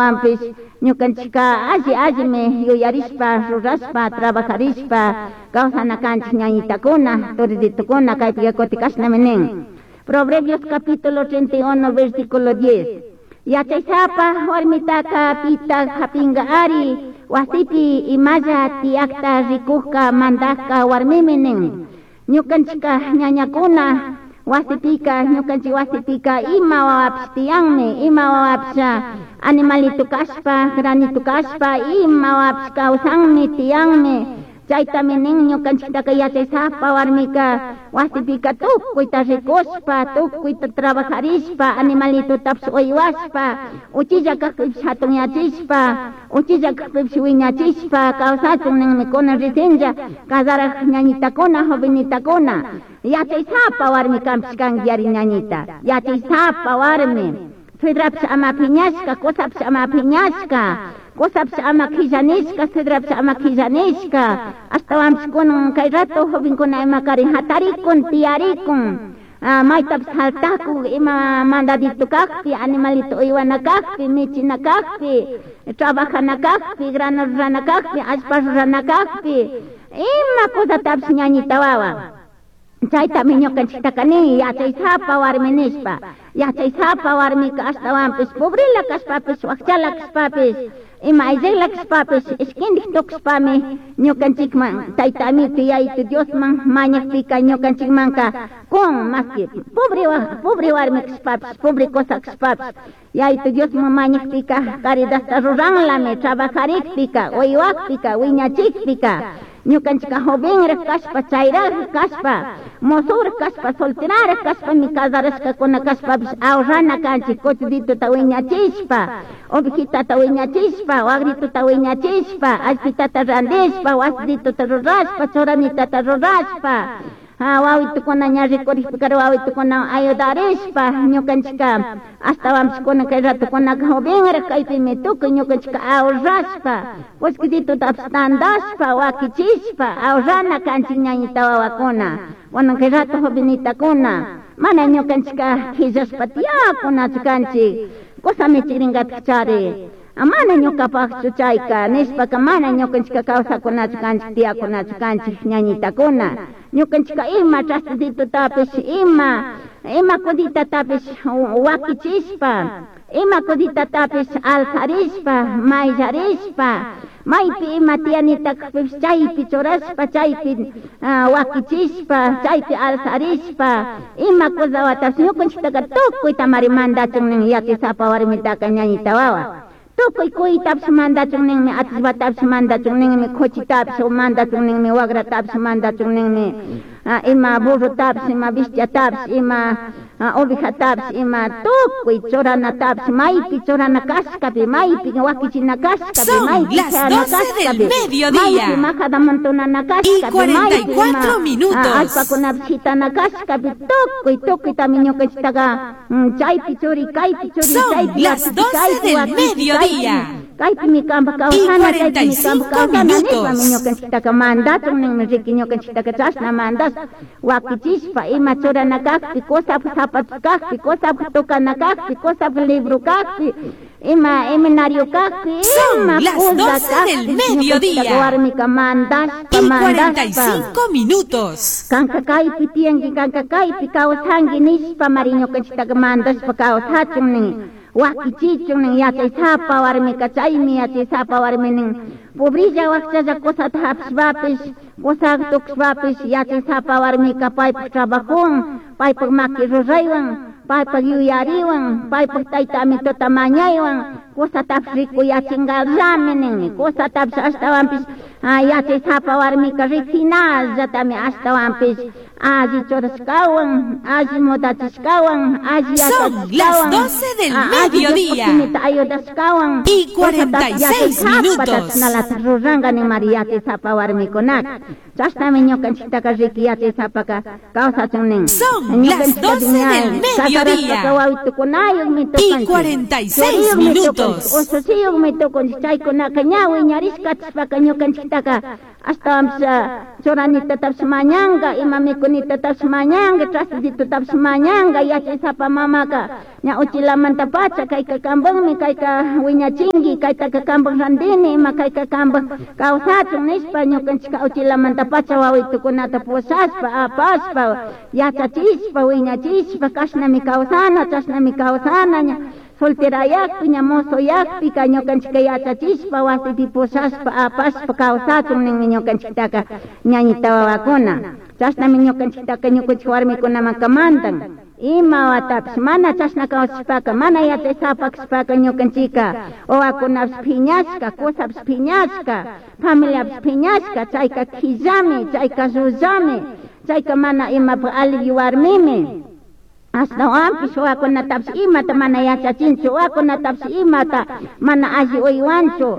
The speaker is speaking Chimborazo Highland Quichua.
Wawanpish ñukanchikka alli allimi yuyarishpa rurashpa trabajarishpa kawsana kanchik ñañitakuna turiditukuna kaypika kutin kashnami nin. Proverbios capítulo 31 versículo 10. Yachaysapa warmitaka pitak hapinga ari wasipi imalla tiyakta rikukka mandakka warmimi nin. Ñukanchikka ñañakuna wasipika ñukanchik wasipika ima wawapish tiyanmi, ima wawapish animalito kashpa, granito kashpa, ima wawapish kawsanmi tiyanmi. Chaytami nin ñukanchiktaka yachaysapa warmika wasipika tukuyta rikushpa, tukuyta trabajarishpa, animalitotapish uywashpa, uchilla kakpipish hatunyachishpa, uchilla kakpipish wiñachishpa kawsachun ninmi kunan recienlla kasarak ñañitakuna, jovenitakuna. Yachaysapa warmi kanpish kanki yari ñañita, yachaysapa warmi. Suedrapish ama piñashka, kusapish ama piñashka, kusapish ama quillanishka, suedrapish ama quillanishka. Ashtawanpish kunan kay rato jovenkuna ima karin hatarikun, tiyarikun. Maytapish saltakun, ima mandadito kakpi, animalito uywana kakpi, michina kakpi, trabajana kakpi, grano rurana kakpi, allpa rurana kakpi, ima cosatapish ñañita wawa. Chaytami ñukanchiktaka nin yachaysapa warmi nishpa. Yachaysapa warmika ashtawanpish pobrela kashpapish, wakchala kashpapish, ima ayllela kashpapish, ishkindik tukushpami ñukanchikman tayta amito yayitu Diosman mañakpika ñukanchikmanka kun maski pobre pobre warmi kashpapish, pobre cosa kashpapish, yayitu Diosman mañakpika caridadta ruranlami trabajarikpika, uywakpika, wiñachikpika. Ñukanchika jovenraj kashpa, chayraj kashpa, mozoraj kashpa, solteraraj kashpami casarashkakuna kashpapish ahorrana kanchik cochiditota wiñachishpa, ovejitata wiñachishpa, wagritota wiñachishpa, allpitata randishpa, wasiditota rurashpa, churanitata rurashpa, wawitukuna ña rikurikpika wawitukuna ayudarishpa ñukanchika ashtawanpish kunan kay ratukunaka jovenraj kaypimi tukuy ñukanchika ahorrashpa kullkititotapish tandashpa wakichishpa ahorrana kanchik ñañita wawakuna kunan kay rato jovenitakuna mana ñukanchika quillashpa tiyakunachu kanchik kusa michikrinkatik chari mana ñukapakchu chayka nishpaka mana ñukanchika kawsakunachu kanchik tiyakunachu kanchik ñañitakuna ñukanchika ima trastitutapish ima ima cuditatapish wakichishpa ima cuditatapish alzarishpa mayllarishpa maypi ima tiyanita kakpipish chaypi churashpa chaypi wakichishpa chaypi alzarishpa ima cosawatapish ñukanchiktaka tukuytamari mandachun nin yachaysapa warmitaka ñañita wawa. Tukuy kuytapish mandachun ninmi, atishpatapish mandachun ninmi, kuchitapish mandachun ninmi, wagratapish mandachun ninmi, ima burrotapish, ima bestiatapish, ima ovejatapish, ima tukuy churanatapish, maypi churana kashkapi, maypi wakichina kashkapi, Son maypi las chayana 12 del kashkapi, mediodía maypi majadamontonana y kashkapi, maypi ima 44 minutos. allpakunapish shitana kashkapi, tukuy tukuytami ñukanchiktaka chaypi churi, kaypi churi, Son chaypi las wakichi, 12 kaypi del wakichi, kaypi mediodía kaypimi kanpak y kawsana, chaypimi kanpak 45 kawsana nishpami minutos. ñukanchiktaka mandachun ninmi riki ñukanchiktaka chashna mandashpa wakichishpa ima churana kakpi, kusapuk zapatos kakpi, kusapuk tocana kakpi, kusapuk libro kakpi, ima seminario kakpi, Son ima las cosa 12 del kakpi ñukanchiktaka mediodía warmika mandashpa y mandashpa. 45 minutos. Kanka kaypi tiyanki, kanka kaypi kawsanki nishpa mari ñukanchiktaka mandashpa kawsachun nin, wakichichun nin yachaysapa warmika chaymi yachaysapa warmi nin. Pobrilla wakchalla cosata hapishpapish, cosa tukushpapish yachaysapa warmika paypak trabajowan, paypak maki ruraywan, paypak yuyariwan, paypak tayta amitota mañaywan, cosatapish rikuyachinkarllami ninmi, cosatapish ashtawanpish yachaysapa warmika riksinallatami ashtawanpish alli churashkawan, alli mudachishkawan, alli Son las yachachishkawan, 12 del alli Diospaj mediodía shimita ayudashkawan, y cosatapish 46 yachaysapa minutos. chashnalata ruranka nin mari yachaysapa warmikunaka. Chashnami ñukanchiktaka riki yachaysapaka kawsachun nin. Son las Ñukanchiktaka 12 ña del casarashpaka mediodía wawitukunayukmi y tukunchik, 46 churiyukmi tukunchik, minutos. usushiyukmi tukunchik, chaykunaka ña wiñarishka kachishpaka ñukanchiktaka ashtawanpish churanitatapish mañanka, ima mikunita Mikunitatapish mañanga, trastitutapish mañanga, yachaysapa mamaka ña uchilamantapacha kayka kampanmi, kayka wiñachinki, kaytaka kampan randini, ima kayka kampan kawsachun nishpa ñukanchikka uchilamantapacha wawitukunata pushashpa, apashpa, yachachishpa, wiñachishpa, kashnami kawsana, chashnami kawsana, ña solterayakpi, ña mozoyakpika ñukanchikka yachachishpa, wasipi pushashpa, apashpa kawsachun ninmi ñukanchiktaka ñañita wawakuna. Chashnami ñukanchiktaka ñukanchik warmikunamanka mandan. Ima watapish mana chashna kawsashpaka, mana yachaysapa kashpaka ñukanchikka wawakunapish phiñashka, kusapish phiñashka, familiapish phiñashka, chayka quillami, chayka llullami, chayka mana imapak alli warmimi. Ashtawanpish wawakunatapish imata mana yachachinchu, wawakunatapish imata mana alli uywanchu.